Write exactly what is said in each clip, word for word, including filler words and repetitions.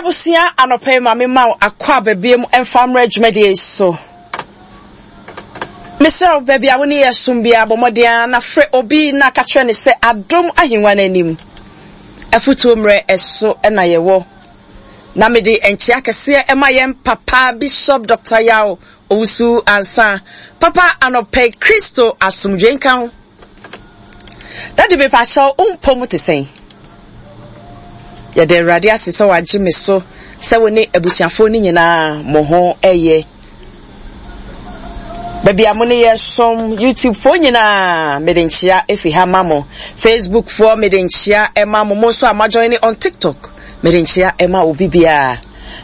Abusua, anɔpa yi ma me ma wo akɔ aba biom mfa mmra dwumadie yi so. Mesrɛ wo, baabi a wo ne yɛ som biara, bɔ mmɔden ara na frɛ obi na ka kyerɛ ne sɛ Adom Ahengua no anim afutuo mmerɛ ɛso na yɛwɔ. Na mede nkyea kɛseɛ ɛma yɛn papa Bishop Doctor Yaw Owusu Ansah. Papa, anɔpa yi Kristo asomdwoe nka ho. Daddy, mepakyɛw, wo mpɔ mu te sɛn? Yɛda Awurade ase sɛ wagye me so sɛ wo ne abusuafoɔ no nyinaa mo ho ɛyɛ. Baabi a mo ne yɛ som, YouTube foɔ nyinaa, mede nkyea efi ha ma mo. Facebook foɔ, mede nkyea ɛma mo. Mo nso a mo join on TikTok, mede nkyea ɛma obi biara.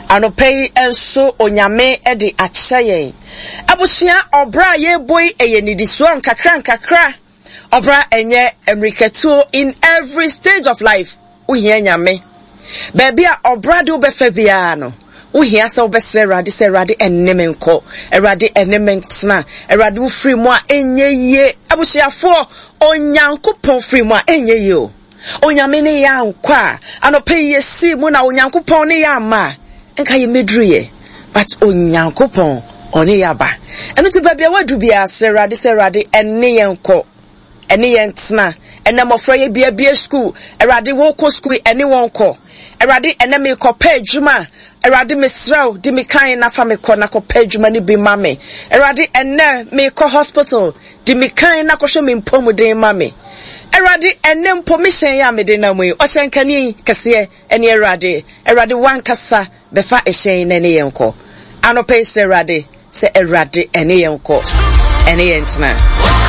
Anɔpa yi nso Onyame de akyɛ yɛn. Abusua, ɔbra a yɛbɔ yi ɛyɛ nidisoɔ nkakra nkakra. Ɔbra ɛnyɛ mmirikatuo. In every stage of life, wohia Nyame. Baabi a ɔbra de wobɛfa biara no, wohia sɛ wobɛsrɛ Awurade sɛ Awurade ɛne me nkɔ, Awurade ɛne me ntena, Awurade wo firi mu a ɛnyɛ yie. Abusuafoɔ, Onyankopɔn firi mu a ɛnyɛ yie o. Onyame ne yɛ ankɔ a, anɔpa yi yɛsii mu na Onyankopɔn ne yɛ ama a, nka yɛmmɛduru yɛ. But Onyankopɔn ɔne yɛ aba. Ɛno nti baabi a woadu biara, srɛ Awurade sɛ Awurade ɛne yɛn nkɔ, ɛne yɛn tena. Ɛnɛ mmɔfra yɛ biabie school, Awurade wɔkɔ school, ɛne wɔn kɔ. Awurade, ɛnɛ mekɔpɛ adwuma, Awurade mesrɛ wo, di me kan na fa me kɔ na kɔpɛ adwuma no bi ma me. Awurade, ɛnɛ mekɔ hospital, di me kan na kɔhwɛ me mpɔmuden ma me. Awurade, ɛnɛ mpo mehyɛn yi a mede nam yi, ɔhyɛnkani kɛseɛ ɛne Awurade. Awurade wankasa bɛfa ɛhyɛn na ɛne yɛn kɔ. Anɔpa yi srɛ Awurade sɛ Awurade ɛne yɛn kɔ, ɛne yɛn tena.